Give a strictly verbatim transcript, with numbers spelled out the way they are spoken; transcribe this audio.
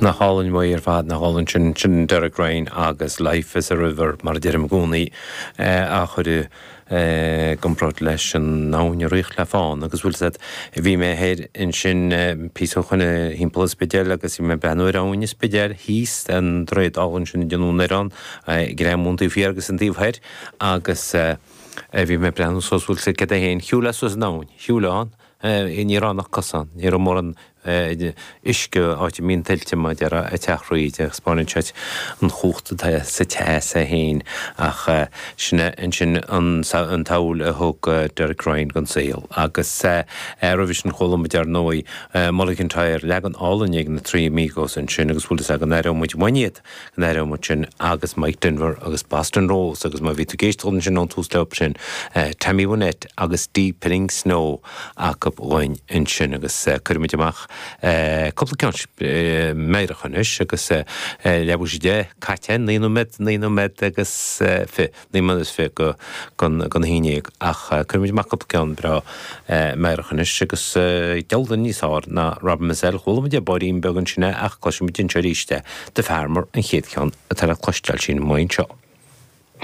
Nach álainn uaidh ar fad, nach álainn sin, sin Derek Ryan agus Life is a River mar a deirim i gcónaí á chur i gcomparáid leis an abhainn ag rith le fán agus bhfuil 'fhios a'd, bhí mé thoir ansin píosa ó shoin thimpeall an Spidéil agus bhí mé ag breathnú ar abhainn an Spidéil thíos an droichead álainn sin ag déanamh an oileán ag greamú an taobh thiar agus an taobh thoir agus bhí mé ag breathnú suas bhfuil 'fhios a'd céard é féin, shiúil mé suas an abhainn, shiúil ann, ní raibh ann ach cosán, ní raibh mórán uisce áit a mbíonn tuilte mar a déarfá ag teacht thríd agus spáineann sé an chumhacht atá sa teas é féin ach sin é ansin an tsamhail a thug Derek Ryan don saol agus roimhe sin chuala muid ar ndóigh Mull of Kintyre, leagan álainn ag na Three Amigos ansin agus bhfuil fhios a'd go n-aireoidh muid uainn iad, go n-aireoidh muid sin agus Mike Denver agus Boston Rose agus má bhí tú ag éisteacht ansin ón tús leo sin Tammy Wynette agus Deepening Snow acu dhúinn ansin agus cuirfidh muid amach cúpla ceann meidhreach anois agus leathuair tar éis a deich caite, naoi nóiméad, naoi nóiméad agus fiche, naoi nóiméad is fiche go don a haon déag ach cuirfidh muid amach cúpla ceann breá meidhreach anois agus geall duine níos fearr ná Robin Mizzell, chuala muid é báirín beag ansin é ach cloisfidh muid anseo arís é, The Farmer an chéad cheann atá le cloisteáil sin amuigh anseo.